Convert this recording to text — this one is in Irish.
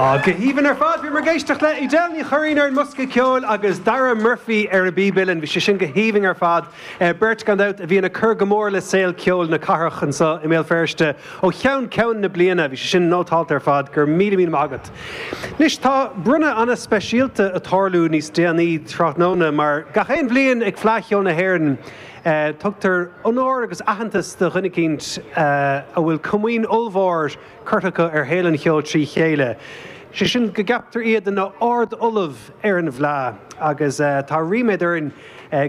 Go haoibhinn ar fad! Bhíomar ag éisteacht le Edel Ní Churraoin ar an mbosca ceoil agus Dara Murphy ar an bpíb uilleann. Bhí sé sin go haoibhinn ar fad. Beirt, gan dabht, a bhíonn ag cur go mór le saol ceoil na cathrach anseo i mBéal Feirste ó cheann ceann na bliana. Bhí sé sin nótálta ar fad. Go raibh míle míle maith agat. Anois, tá bronnadh an-speisialta ag tarlú níos déanaí tráthnóna mar gach aon bhliain ag Fleadh Cheoil na hÉireann, tugtar onóir agus aitheantas do dhuine eicínt a bhfuil comaoin ollmhór curtha acu ar shaol an cheoil trí chéile, sé sin go gceaptar iad ina Ard-Ollamh ar an bhFleadh agus tá ríméad orainn go.